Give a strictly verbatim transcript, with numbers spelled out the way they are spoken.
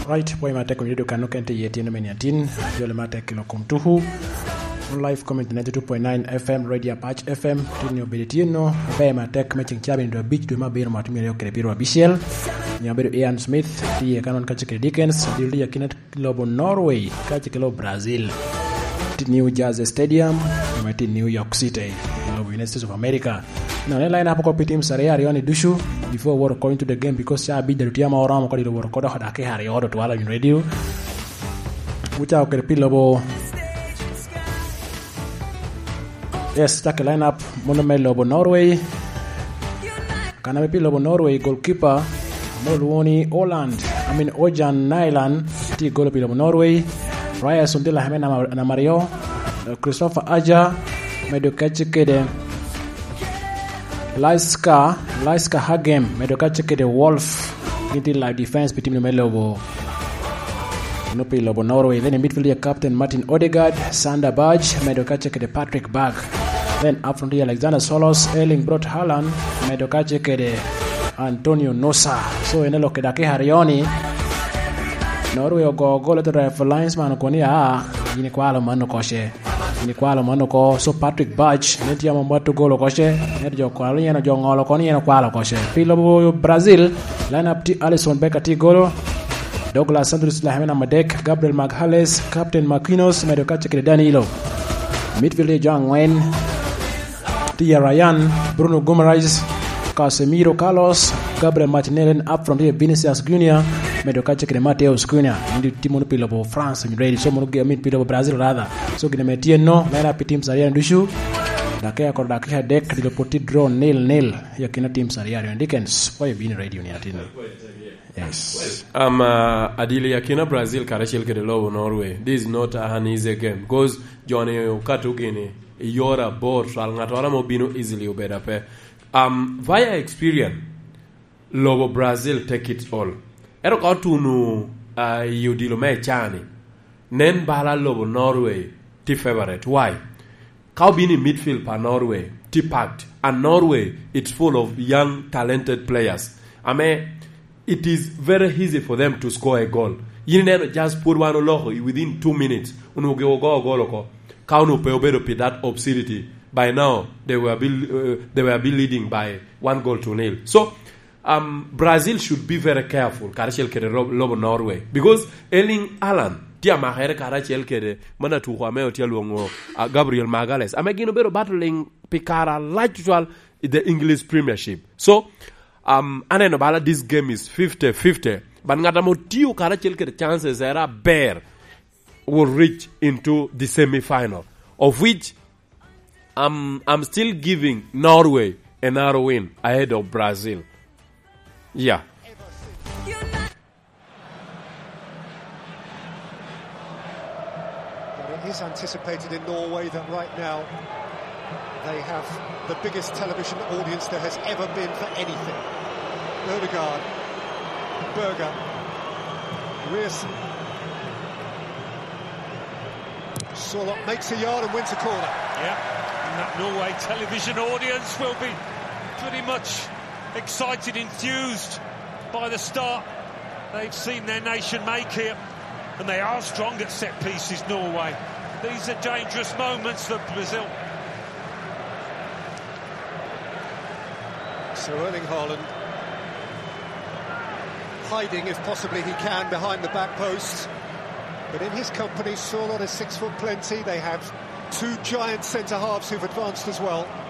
Right, pwoc matek, onyo dukano ken tye iye tyen me niatin, jole matek i lok kom tuku. On live community ninety-two point nine F M, Radio Apac F M, tin ni obedo tyen no, abe matek me ceng cabit dwe abic dwe me abiro mwaka otye myero kede piro abicel. Nyo abedo Ian Smith, tye iye kanon kacel kede Dickens, adil tye akina lobo Norway, kacel kede lobo Brazil. Tin New Jersey Stadium, me tin New York City, lobo United States of America. No, ne line up oko pi teams aryo aryo ni ducu before we go into the game, because ca abic dado tye ama oromo kodi, wot oko dok dakika aryo do twala in radio. Wucako kede pi lobo, yes, caki line up mono me lobo Norway. Kan ame pi lobo Norway, goalkeeper ame olwoŋo ni Orland, I mean, Ojan Nyland, tye i golo pi lobo Norway. Ryan Sundela ame namba, namba aryo, Christopher Aja, medo kacce kede Laiska, Laiska Hagem, medo kacce kede Wolf. Gin tye live defense pi team me lobo, no, pi lobo Norway. Then i midfield ya captain Martin Odegaard, Sander Berge, medo kacce kede Patrick Berg. Then up front ya Alexander Solos, Erling Braut Haaland, medo kacce kede Antonio Nusa. So, en elok i dakika aryo ni, Norway ogo gol, ento referee linesman okoni, "Aa, yin ikwalo mano koce." Ni kwalo mano oko, so Patrick Berge, ne tye ame mwatto gol oko ce, ento jo kwalo ni en, jo ŋolo oko ni en okwalo oko ce. Pi lobo Brazil, line up tye Alisson Becker tye i golo, Douglas Santos Laheme namba adek, Gabriel Magalhaes, Captain Marquinhos, medo kacce kede Danilo. Midfield tye jo aŋwen, tye Ryan, Bruno Guimaraes, Casemiro, Carlos, Gabriel Martinelli, up front tye Vinicius Junior, medo kacce kede Mateus Cunha. Indi tye mono pi lobo France, ready. So mono ge-, I mean, pi lobo Brazil, rather. So gin ame tye no, line up pi teams aryo ducu. Dakika kor dakika adek, dilo pwod tye draw nil nil. I akina teams aryo aryo. Dickens, why you been radio ni atin? Yes. Um, uh, adili akina Brazil karacel kede lobo Norway. This is not an easy game because joni okato gini i yore abor, twal ŋattoro ame obino easily obedo ape. Um, via experience, lobo Brazil take it all. Ento ka otuno, ah, i odilo me cani, nen bala lobo Norway tye favorite. Why? Ka obino i midfield pa Norway, tye packed. And Norway, it's full of young, talented players. Ame, it is very easy for them to score a goal. Yin ineno just pwod wan oloko i within two minutes, onwoŋo gi ogo gol oko. Ka onwoŋo pe obedo pi that obscenity, by now, they will be, uh, they will be leading by one goal to nil. So, um, Brazil should be very careful, karacel kede ro-, lobo Norway. Because Erling Haaland tye amakere karacel kede man atuko ame otye alwoŋo, uh, Gabriel Magalhaes. Ame gin obedo battling pi kare alac tutwal i the English Premiership. So, um, aneno bala this game is fifty fifty. But ŋat ame otio karacel kede chances era aber will reach into the semi-final, of which I'm, I'm still giving Norway another win ahead of Brazil. Yeah. But it is anticipated in Norway that right now they have the biggest television audience there has ever been for anything. Odegaard, Berger, Ryerson. Sorloth makes a yard and wins a corner. Yeah, and that Norway television audience will be pretty much excited, enthused by the start they've seen their nation make here. And they are strong at set pieces, Norway. These are dangerous moments for Brazil. So Erling Haaland hiding, if possibly he can, behind the back post. But in his company, Sorloth is six foot plenty. They have two giant centre halves who've advanced as well.